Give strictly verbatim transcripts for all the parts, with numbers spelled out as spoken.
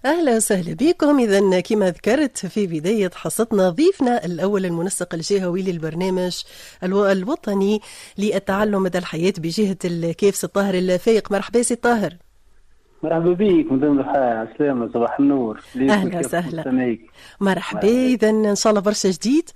أهلا وسهلا بكم. إذا كما ذكرت في بداية حصتنا، ضيفنا الأول المنسق الجهوي للبرنامج الوطني للتعلم مدى الحياة بجهة الكاف، سي الطاهر الفايق. مرحبا سي الطاهر. مرحبا بك مدام ضحى، عسلامة، صباح النور. اهلا وسهلا، مرحبا. اذا ان شاء الله برشا جديد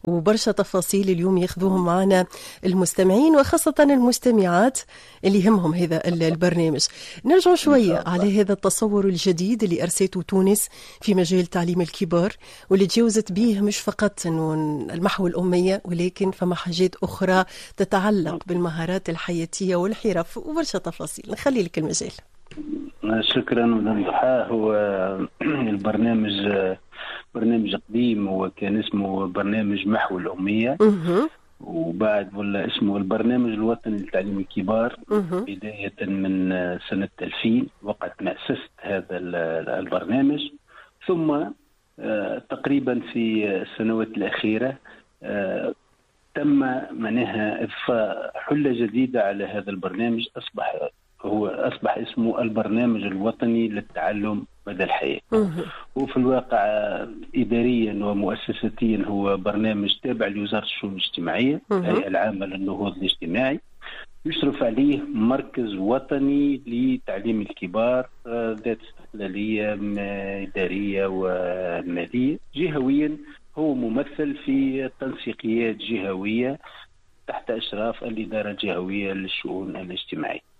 وبرشا تفاصيل اليوم ياخذوهم معنا المستمعين وخاصة المستمعات اللي يهمهم هذا البرنامج. نرجع شوية على هذا التصور الجديد اللي أرسيته تونس في مجال تعليم الكبار، واللي تجاوزت به مش فقط انه المحو الأمية، ولكن فما حاجات أخرى تتعلق بالمهارات الحياتية والحرف وبرشا تفاصيل. نخلي لك المجال. شكرا مدام ضحى. هو البرنامج برنامج قديم، هو كان اسمه برنامج محو الأمية، وبعد ولا اسمه البرنامج الوطني لتعليم الكبار. بداية من سنة ألفين وقت مأسسة هذا البرنامج، ثم آه، تقريبا في السنوات الأخيرة آه، تم معناها إضفاء حلة جديدة على هذا البرنامج، أصبح هو أصبح اسمه البرنامج الوطني للتعلم مدى الحياة. وفي الواقع إداريا ومؤسساتيا هو برنامج تابع لوزارة الشؤون الاجتماعية، الهيئة العامة للنهوض الاجتماعي، يشرف عليه مركز وطني لتعليم الكبار آه، ذات استقلالية إدارية ومالية. جهويا هو ممثل في تنسيقيات جهوية تحت إشراف الإدارة الجهوية للشؤون الاجتماعية.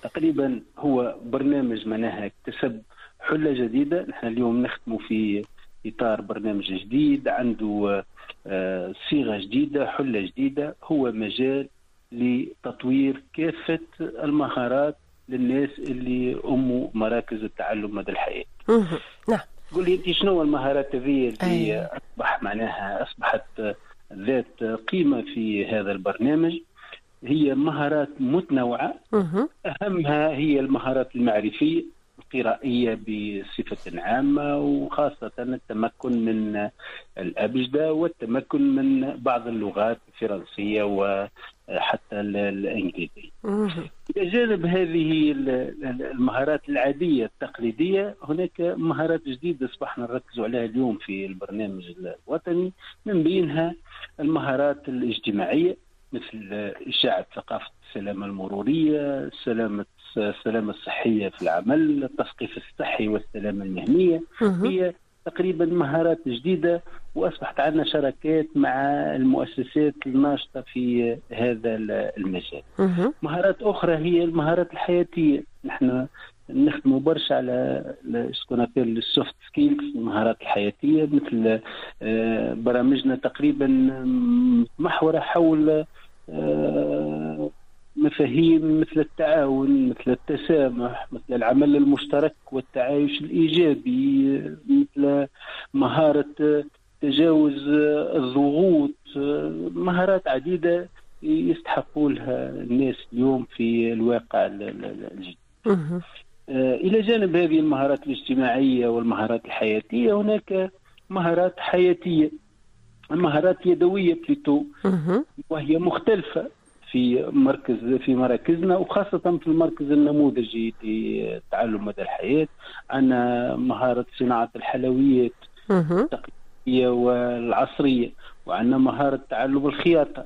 تقريبا هو برنامج معناها اكتسب حلة جديدة. نحن اليوم نخدم في إطار برنامج جديد عنده آه، صيغة جديدة، حلة جديدة. هو مجال لتطوير كافة المهارات للناس اللي أموا مراكز التعلم مدى الحياة. نعم. قول لي انت شنو المهارات هذه اللي اصبح معناها اصبحت ذات قيمة في هذا البرنامج؟ هي مهارات متنوعه، اهمها هي المهارات المعرفيه القرائيه بصفة عامه، وخاصة التمكن من الابجده والتمكن من بعض اللغات، الفرنسية وحتى الانجليزيه. الى جانب هذه المهارات العادية التقليديه، هناك مهارات جديدة اصبحنا نركز عليها اليوم في البرنامج الوطني، من بينها المهارات الاجتماعية مثل إشاعة ثقافة السلامة المرورية، السلامة السلامة الصحية في العمل، التثقيف الصحي والسلامة المهنية. هي تقريبا مهارات جديدة، وأصبحت عندنا شراكات مع المؤسسات الناشطة في هذا المجال. مهارات أخرى هي المهارات الحياتية. نحن نخدموا برشا على ce qu'on appelle ال soft skills، المهارات الحياتيه، مثل آه، برامجنا تقريبا محوره حول آه، مفاهيم مثل التعاون، مثل التسامح، مثل العمل المشترك والتعايش الايجابي، مثل مهارة تجاوز الضغوط، مهارات عديدة يستحقوا لها الناس اليوم في الواقع الجديد. آه، إلى جانب هذه المهارات الاجتماعية والمهارات الحياتية، هناك مهارات حياتية، مهارات يدوية plutôt، وهي مختلفة في مركز في مراكزنا، وخاصة في المركز النموذجي لتعلم مدى الحياة. عندنا مهارة صناعة الحلويات التقليدية والعصرية، وعندنا مهارة تعلم الخياطة.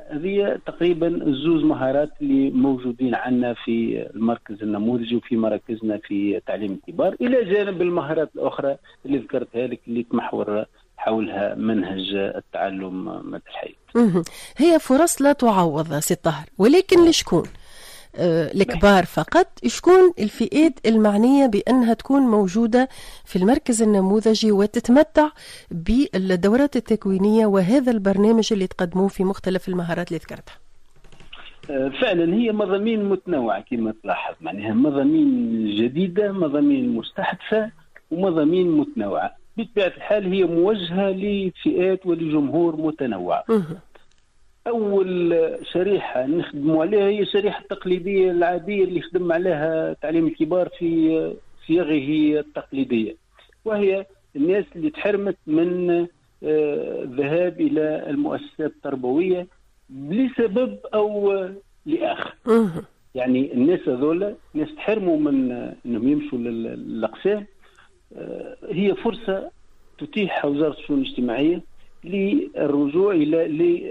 هذه تقريبا الزوز مهارات اللي موجودين عندنا في المركز النموذجي وفي مراكزنا في تعليم الكبار، الى جانب المهارات الاخرى اللي ذكرتها لك اللي تمحور حولها منهج التعلم مدى الحياة. هي فرص لا تعوض سي الطاهر، ولكن لشكون؟ آه، الكبار فقط؟ شكون الفئات المعنية بأنها تكون موجودة في المركز النموذجي وتتمتع بالدورات التكوينية وهذا البرنامج اللي تقدموه في مختلف المهارات اللي ذكرتها؟ آه، فعلا هي مضامين متنوعة كما تلاحظ، معناها مضامين جديدة، مضامين مستحدثة ومضامين متنوعة. بطبيعة الحال هي موجهة لفئات ولجمهور متنوع. اول شريحة نخدموا عليها هي الشريحة التقليدية العادية اللي خدم عليها تعليم الكبار في صيغة التقليديه، وهي الناس اللي تحرمت من آه، الذهاب الى المؤسسات التربوية لسبب او لاخر. يعني الناس هذول ناس تحرموا من انهم يمشوا للاقسام. هي فرصة تتيح وزارة الشؤون الاجتماعية للرجوع الى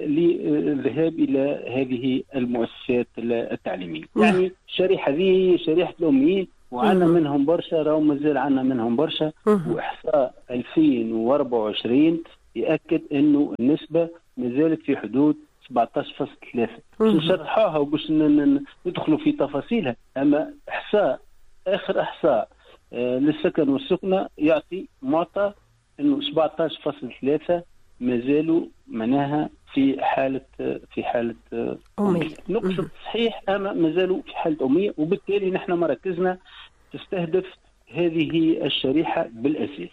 للذهاب الى هذه المؤسسات التعليمية. يعني الشريحة هذه هي شريحة الاميين، وعندنا منهم برشا، راهو مازال عندنا منهم برشا. واحصاء ألفين وأربعة وعشرين ياكد انه النسبة مازالت في حدود سبعة عشر فاصلة ثلاثة. باش نشرحوها وباش ندخلوا في تفاصيلها، اما احصاء اخر احصاء للسكن والسكنه يعطي معطى انه سبعة عشر فاصلة ثلاثة مازالوا معناها في حاله في حاله امية. نقصد صحيح، اما مازالوا في حاله امية، وبالتالي نحن مراكزنا تستهدف هذه الشريحة بالاساس.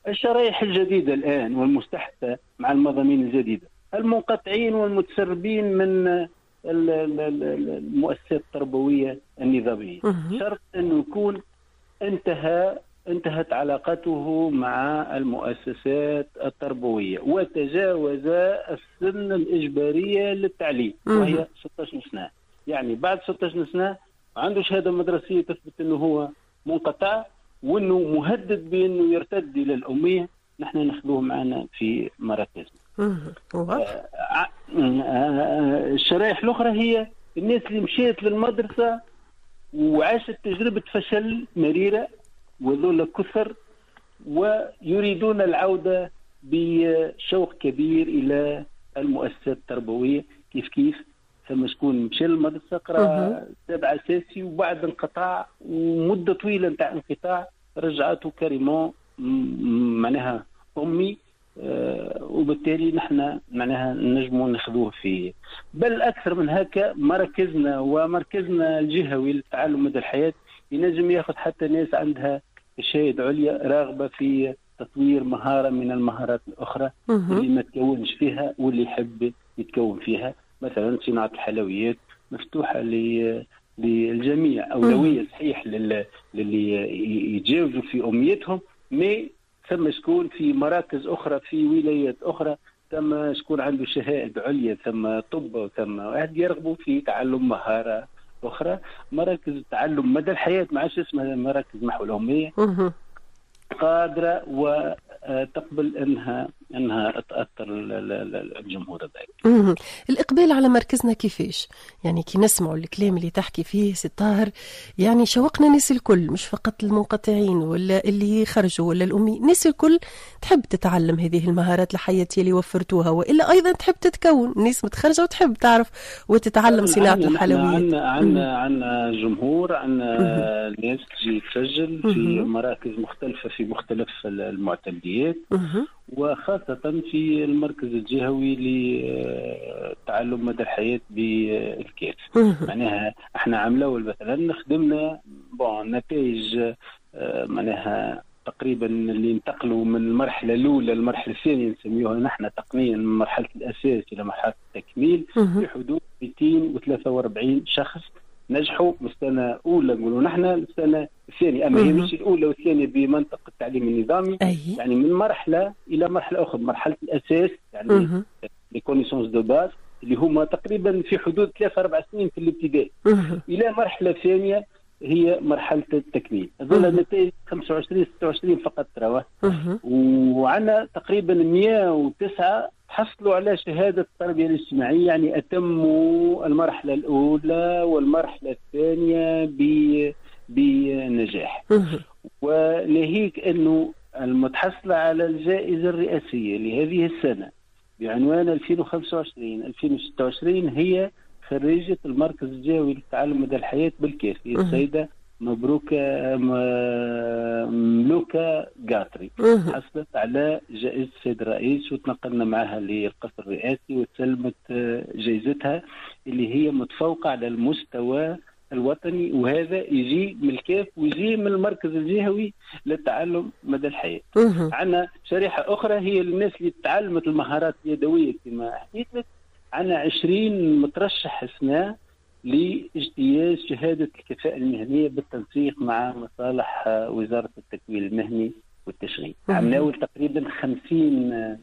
الشرائح الجديدة الان والمستحدثه مع المضامين الجديدة، المنقطعين والمتسربين من المؤسسات التربوية النظامية، شرط انه يكون انتهى انتهت علاقته مع المؤسسات التربوية وتجاوز السن الإجبارية للتعليم وهي ستة عشر سنة. يعني بعد ستة عشر سنة عنده شهادة مدرسية تثبت أنه هو منقطع وأنه مهدد بأنه يرتد إلى الأمية، نحن ناخذوه معنا في مراكزنا. الشرائح الأخرى هي الناس اللي مشيت للمدرسة وعاشت تجربة فشل مريرة، وذول كثر، ويريدون العودة بشوق كبير إلى المؤسسات التربوية. كيف كيف ثم شكون مشى للمدرسة قرأ سبع أساسي وبعد انقطاع ومدة طويلة نتاع انقطاع رجعته carrément معناها أمي، آه وبالتالي نحن معناها نجموا ناخذوه فيه. بل أكثر من هكا مركزنا ومركزنا الجهوي للتعلم مدى الحياة ينجم ياخذ حتى ناس عندها شهادة عليا راغبة في تطوير مهارة من المهارات الأخرى اللي ما تكونش فيها واللي يحب يتكون فيها. مثلا صناعة الحلويات مفتوحة للجميع، أولوية صحيح للي يتجاوزوا في أمنيتهم، mais ثم شكون في مراكز أخرى في ولايات أخرى، ثم شكون عنده شهادة عليا، ثم طب، وثم واحد يرغبوا في تعلم مهارة أخرى. مراكز التعلم مدى الحياة ما عادش اسمها مراكز محو الأمية، قادرة وتقبل أنها أنها تأثر الجمهور هذاك. الإقبال على مركزنا كيفاش؟ يعني كي نسمعوا الكلام اللي تحكي فيه سي طاهر، يعني شوقنا الناس الكل، مش فقط المنقطعين ولا اللي خرجوا ولا الأمي، الناس الكل تحب تتعلم هذه المهارات الحياتية اللي وفرتوها، وإلا أيضا تحب تتكون، الناس متخرجة وتحب تعرف وتتعلم صناعة الحلويات. عندنا عندنا عندنا جمهور، عندنا ناس تجي تسجل في مراكز مختلفة في مختلف المعتمديات، وخاصة في المركز الجهوي لتعلم مدى الحياة بالكاف. معناها احنا عام الاول مثلا خدمنا bon نتائج معناها تقريبا اللي انتقلوا من المرحلة الأولى للمرحلة الثانية نسميوها نحن تقنيا من مرحلة الأساس إلى مرحلة التكميل في حدود مئتين وثلاثة وأربعين شخص نجحوا من السنة الأولى نقولوا نحن للسنة الثانية، أما هي مش الأولى والثانية بمنطق التعليم النظامي. أي. يعني من مرحلة إلى مرحلة أخرى، مرحلة الأساس يعني les connaissances de base اللي هما تقريبا في حدود ثلاثة أربع سنين في الابتدائي، إلى مرحلة ثانية هي مرحلة التكميل. هذول النتائج خمسة وعشرين ستة وعشرين فقط تروه، وعندنا تقريبا مئة وتسعة حصلوا على شهادة التربية الاجتماعية، يعني أتموا المرحلة الأولى والمرحلة الثانية بنجاح. وناهيك أنه المتحصلة على الجائزة الرئاسية لهذه السنة بعنوان ألفين وخمسة وعشرين ألفين وستة وعشرين هي خريجة المركز الجهوي للتعلم مدى الحياة بالكاف، هي السيدة مبروكة ملوكة قاطري، حصلت على جائزة السيد الرئيس وتنقلنا معها للقصر الرئاسي وتسلمت جائزتها اللي هي متفوقة على المستوى الوطني، وهذا يجي من الكاف ويجي من المركز الجهوي للتعلم مدى الحياة. عندنا شريحة أخرى هي الناس اللي تعلمت المهارات اليدوية كما حكيت لك، عندنا عشرين مترشح سنة لاجتياز شهادة الكفاءة المهنية بالتنسيق مع مصالح وزارة التكوين المهني والتشغيل. عملناول تقريبا خمسين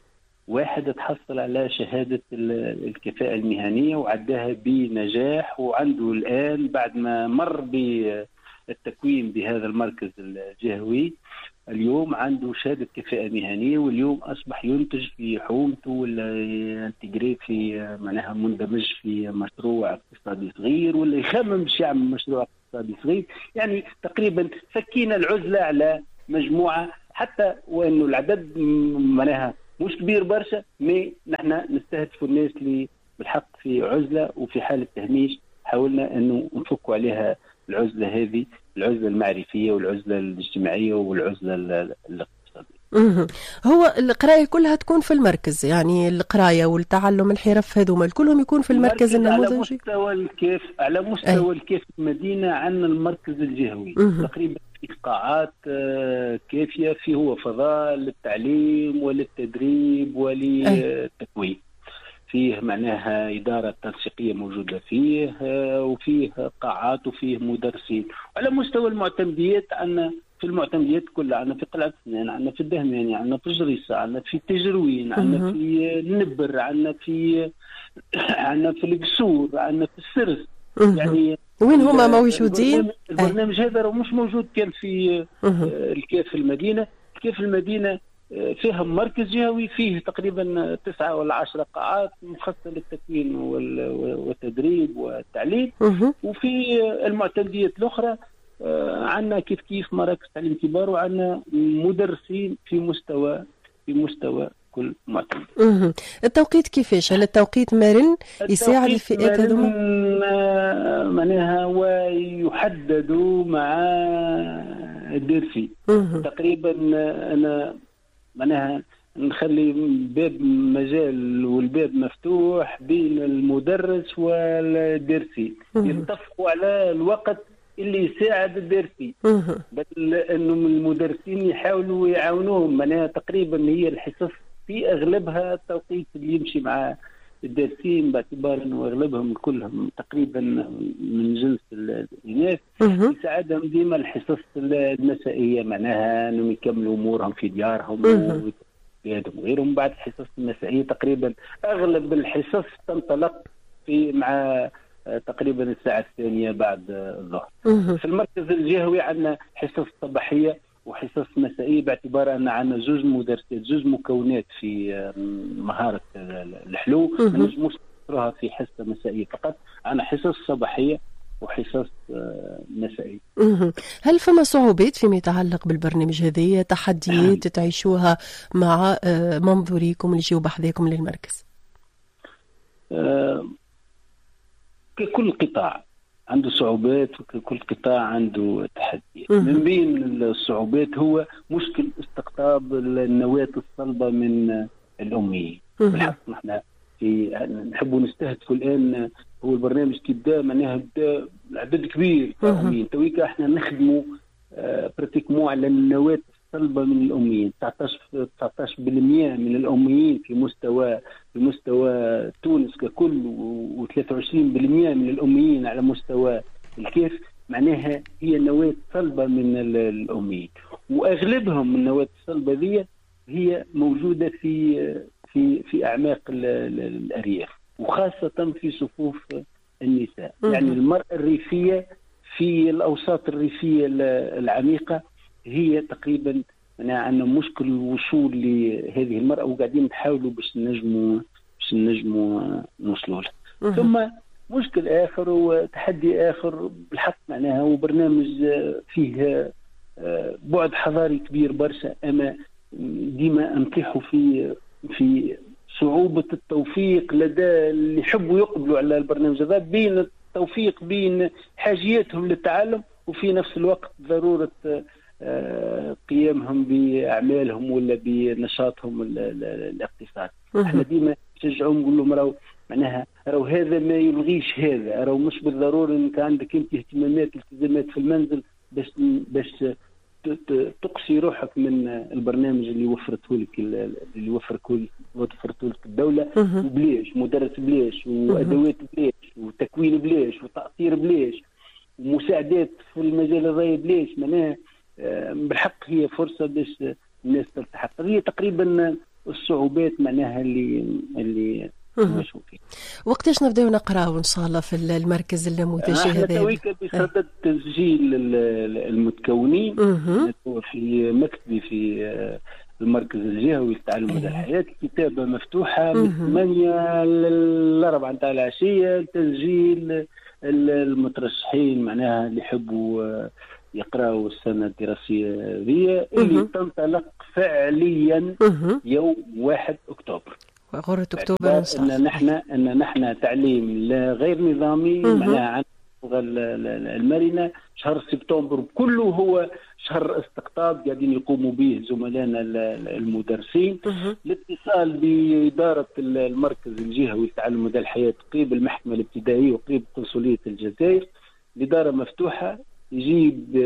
واحد تحصل على شهادة الكفاءة المهنية وعداها بنجاح، وعنده الآن بعد ما مر بالتكوين بهذا المركز الجهوي اليوم عنده شهادة كفاءة مهنية، واليوم أصبح ينتج في حومته ولا intégré في معناها مندمج في مشروع اقتصادي صغير ولا يخمم باش يعمل مشروع اقتصادي صغير. يعني تقريبا فكينا العزلة على مجموعة، حتى وأنه العدد معناها مش كبير برشا، mais نحن نستهدف الناس اللي بالحق في عزلة وفي حالة تهميش، حاولنا أنه نفكوا عليها العزلة هذه، العزلة المعرفية والعزلة الاجتماعية والعزلة الاقتصادية. هو القراية كلها تكون في المركز، يعني القراية والتعلم الحرف هذوما كلهم يكون في المركز النموذجي؟ على مستوى الكيف، على مستوى الكيف المدينة عندنا المركز الجهوي تقريبا في قاعات كافية، فيه هو فضاء للتعليم وللتدريب وللتكوين، فيه معناها إدارة تنسيقية موجودة فيه، وفيه قاعات وفيه مدرسين. على مستوى المعتمديات عندنا في المعتمديات كلها، عندنا في قلعة سنان، عندنا في الدهماني، عندنا في جريصة، عندنا في تجروين، عندنا في النبر، عندنا في عندنا في القصور، عندنا في السرس. يعني وين هما موجودين؟ البرنامج هذا مش موجود كان في الكاف المدينة. الكاف المدينة فيها مركز جهوي فيه تقريبا تسعة ولا عشرة قاعات مخصصة للتكوين والتدريب والتعليم. وفي المعتمديات الأخرى عندنا كيف كيف مراكز تعليم كبار، وعندنا مدرسين في مستوى في مستوى كل معتمد. التوقيت كيفاش؟ هل التوقيت مرن يساعد الفئات هذوما؟ معناها ويحدد مع الدرسي تقريبا. أنا معناها نخلي باب مجال والباب مفتوح بين المدرس والدرسي، يتفقوا على الوقت اللي يساعد الدرسي، بل انه المدرسين يحاولوا يعاونوهم. معناها تقريبا هي الحصص في اغلبها التوقيت اللي يمشي مع الدارسين، باعتبار انه اغلبهم كلهم تقريبا من جنس الاناث، يساعدهم ديما الحصص المسائيه، معناها انهم يكملوا امورهم في ديارهم وبلادهم وغيرهم. بعد الحصص المسائيه تقريبا اغلب الحصص تنطلق في مع تقريبا الساعة الثانية بعد الظهر. في المركز الجهوي عندنا حصص صباحية وحصص مسائية، باعتبار ان عندنا زوج مدرسات، زوج مكونات في مهارة الحلو، ما نجموش نحصرها في حصة مسائية فقط، عندنا حصص صباحية وحصص مسائية. هل فما صعوبات فيما يتعلق بالبرنامج هذه، تحديات تعيشوها مع منظوريكم اللي يجيو بحذاكم للمركز؟ أه كل قطاع عنده صعوبات وكل قطاع عنده تحديات. من بين الصعوبات هو مشكل استقطاب النواة الصلبة من الأميين. بالحق نحن في نحبوا نستهدفوا الآن، هو البرنامج كي بدا معناها بدا عدد كبير تاع الأميين، تويكا احنا نخدموا pratiquement على النواة الصلبة من الأميين. تسعطاش بالمئة من الأميين في مستوى في مستوى تونس ككل، وثلاثة وعشرين بالمئة من الأميين على مستوى الكيف، معناها هي نواة صلبة من الأميين، وأغلبهم النواة الصلبة ذي هي موجودة في في في أعماق الأرياف، وخاصة في صفوف النساء. يعني المرأة الريفية في الأوساط الريفية العميقة هي تقريبا عندنا مشكل الوصول لهذه المرأة، وقاعدين نحاولوا باش نجموا باش نجموا نوصلوا لها. ثم مشكل آخر وتحدي آخر بالحق معناها، وبرنامج فيه بعد حضاري كبير برشا، أما ديما نطيحوا في في صعوبة التوفيق لدى اللي يحبوا يقبلوا على البرنامج هذا، بين التوفيق بين حاجياتهم للتعلم وفي نفس الوقت ضرورة قيامهم بأعمالهم ولا بنشاطهم الاقتصادي. احنا ديما نشجعهم نقول لهم راهو معناها راهو هذا ما يلغيش هذا، راهو مش بالضرورة انك عندك انت اهتمامات التزامات في المنزل باش باش تقصي روحك من البرنامج اللي وفرته لك اللي وفرته وفرته لك الدولة، وبلاش مدرس بلاش، وادوات بلاش، وتكوين بلاش، وتأطير بلاش، ومساعدات في المجال الري بلاش. معناها بالحق هي فرصة باش الناس تلتحق. هي تقريبا الصعوبات معناها اللي اللي نواجهوا فيها. وقتاش نبداو نقراو ان شاء الله في المركز النموذجي هذا؟ احنا تويكا بصدد تسجيل المتكونين في مكتبي في المركز الجهوي للتعلم مدى الحياة. الكتابة مفتوحة من ثمانية للأربعة نتاع العشية لتسجيل المترشحين معناها اللي يحبوا يقراوا السنة الدراسية ذي اللي تنطلق فعليا يوم واحد أكتوبر. غرة أكتوبر إن شاء الله. أن نحن أن نحن تعليم غير نظامي معناها عن المرنة. شهر سبتمبر كله هو شهر استقطاب قاعدين يقوموا به زملائنا المدرسين. الاتصال بإدارة المركز الجهوي للتعلم مدى الحياة قريب المحكمة الابتدائية وقريب قنصلية الجزائر. الإدارة مفتوحة، يجيب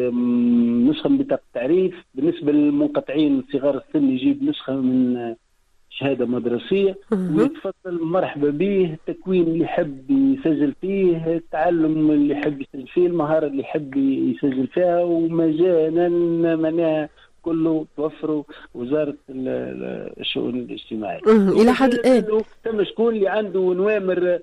نسخة من بطاقة التعريف. بالنسبة للمنقطعين صغار السن يجيب نسخة من شهادة مدرسية ويتفضل مرحبا به. التكوين اللي يحب يسجل فيه، التعلم اللي يحب يسجل فيه، المهارة اللي يحب يسجل فيها، ومجانا معناها كله توفره وزارة الشؤون الاجتماعية. إلى حد الآن تم شكون اللي عنده نوامر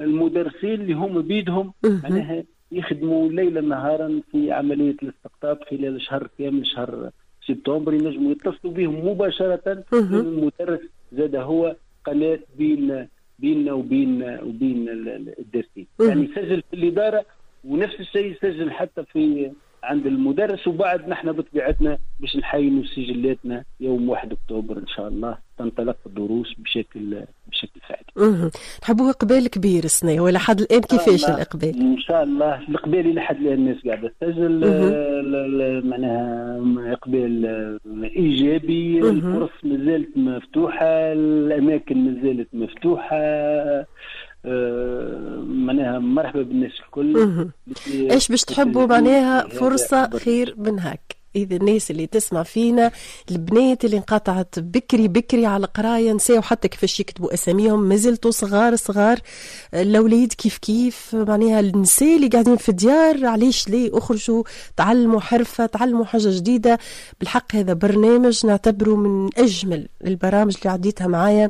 المدرسين اللي هم بيدهم معناها يخدموا ليلا نهارا في عملية الاستقطاب خلال شهر كامل، شهر سبتمبر. ينجموا يتصلوا بهم مباشرة. المدرس زاد هو قناة بين بيننا وبين وبين الدارسين، يعني يسجل في الإدارة ونفس الشيء يسجل حتى في عند المدرس. وبعد نحن بطبيعتنا باش نحينوا سجلاتنا يوم واحد أكتوبر إن شاء الله تنطلق الدروس بشكل بشكل فعلي. نحبوه إقبال كبير السنة، ولا حد الآن كيفاش الإقبال؟ إن شاء الله الإقبال إلى حد الآن الناس قاعدة تسجل، معناها إقبال إيجابي. الفرص مازالت مفتوحة، الأماكن مازالت مفتوحة، معناها مرحبا بالناس الكل. ايش باش تحبوا معناها فرصة خير من هاك. إذا الناس اللي تسمع فينا، البنات اللي انقطعت بكري بكري على القراية، نساو حتى كيفاش يكتبوا أساميهم، مازلتوا صغار صغار، الأولاد كيف كيف، معناها النساء اللي قاعدين في الديار، علاش ليه أخرجوا تعلموا حرفة، تعلموا حاجة جديدة. بالحق هذا برنامج نعتبره من أجمل البرامج اللي عديتها معايا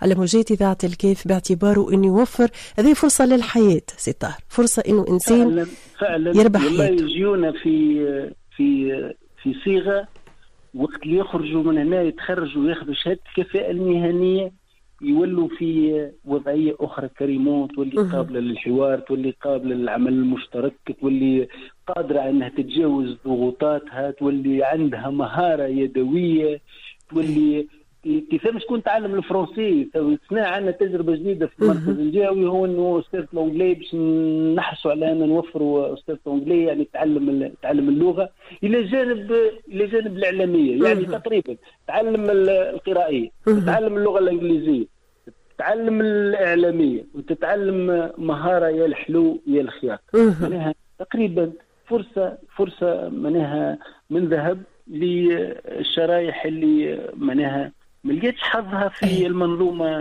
على موجات إذاعة الكيف، باعتباره إنه يوفر هذه فرصة للحياة سي طاهر، فرصة إنه إنسان فعلا فعلا يربح حياته. يجيونا في في في صيغة وقت اللي يخرجوا من هنا يتخرجوا وياخذوا شهادة الكفاءة المهنية، يولوا في وضعية اخرى كريمون، تولي قابله للحوار، تولي قابله للعمل المشترك، تولي قادرة انها تتجاوز ضغوطاتها، تولي عندها مهارة يدوية، تولي تفهم شكون تعلم الفرنسي. سنة عندنا تجربه جديدة في المركز الجهوي، هو انه استاذ l'anglais باش نحرصوا على ان نوفروا استاذ l'anglais، يعني تعلم تعلم اللغة الى جانب الى جانب الاعلامية، يعني تقريبا تعلم القرائيه، تتعلم اللغة الانجليزية، تتعلم الاعلامية، وتتعلم مهارة يا الحلو يا الخياط. معناها تقريبا فرصة فرصة معناها من ذهب للشرايح اللي معناها ما لقيتش حظها في المنظومة.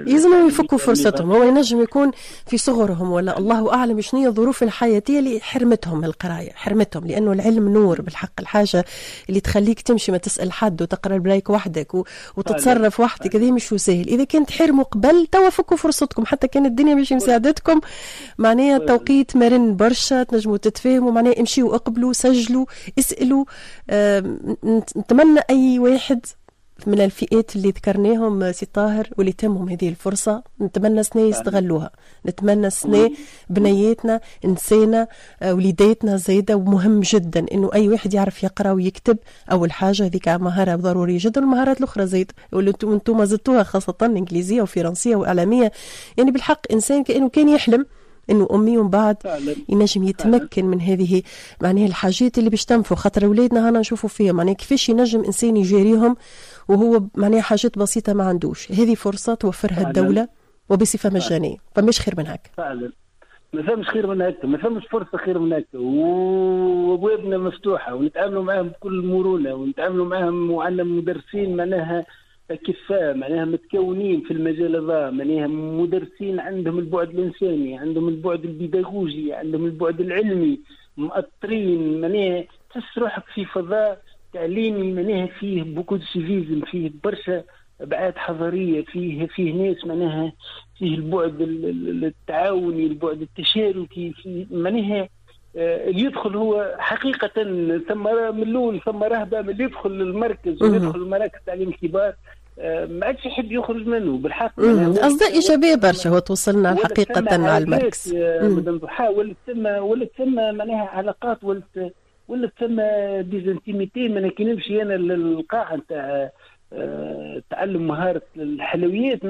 يلزمهم يفكوا فرصتهم، هو ينجم يكون في صغرهم ولا الله اعلم شنو هي الظروف الحياتية اللي حرمتهم القراية، حرمتهم، لانه العلم نور بالحق، الحاجة اللي تخليك تمشي ما تسال حد وتقرا البلايك وحدك و... وتتصرف وحدك، هذا مش سهل. اذا كنت حرموا قبل توا فكوا فرصتكم، حتى كان الدنيا مش مساعدتكم، معناها التوقيت مرن برشا، تنجموا تتفاهموا، معناها امشيوا اقبلوا، سجلوا، اسالوا. أه... نتمنى اي واحد من الفئات اللي ذكرناهم سي طاهر واللي تمهم هذه الفرصة، نتمنى سنة يستغلوها، نتمنى سنة بنياتنا، نسانا، وليداتنا زايدة. ومهم جدا انه اي واحد يعرف يقرا ويكتب، اول حاجة هذيك مهارة ضرورية جدا، والمهارات الاخرى زايد واللي انتم زدتوها خاصة انجليزية وفرنسية واعلامية. يعني بالحق انسان كأنه كان يحلم انه امي ومن بعد ينجم يتمكن من هذه معناها الحاجات اللي باش تنفعوا، خاطر اولادنا هنا نشوفوا فيها معناها كيفاش ينجم انسان يجاريهم وهو معناها حاجات بسيطة ما عندوش. هذه فرصة توفرها فعلا الدولة وبصفه مجانية، فماش خير من هكا. فعلا ما فماش خير من هكا، ما فماش فرصة خير من هكا، وابوابنا مفتوحة ونتعاملوا معاهم بكل مرونة، ونتعاملوا معاهم وعندنا مدرسين معناها كفاءة، معناها متكونين في المجال هذا، معناها مدرسين عندهم البعد الإنساني، عندهم البعد البيداغوجي، عندهم البعد العلمي، مؤطرين، معناها تحس روحك في فضاء تعليمي معناها فيه beaucoup de civisme، فيه برشا ابعاد حضاريه، فيه فيه ناس معناها فيه البعد التعاوني، البعد التشاركي، فيه معناها آه، اللي يدخل هو حقيقة ثم من الأول ثم رهبة من اللي يدخل للمركز ويدخل المراكز التعليم الكبار، آه، ما عادش يحب يخرج منه بالحق. أصداء إيجابية برشا هو توصلنا حقيقة على المركز. مدام ضحى، ولت ثم ولت ثم معناها علاقات، ولت ولت ثم des intimités. معناها كي نمشي انا للقاعه نتاع آه، تعلم مهارة الحلويات.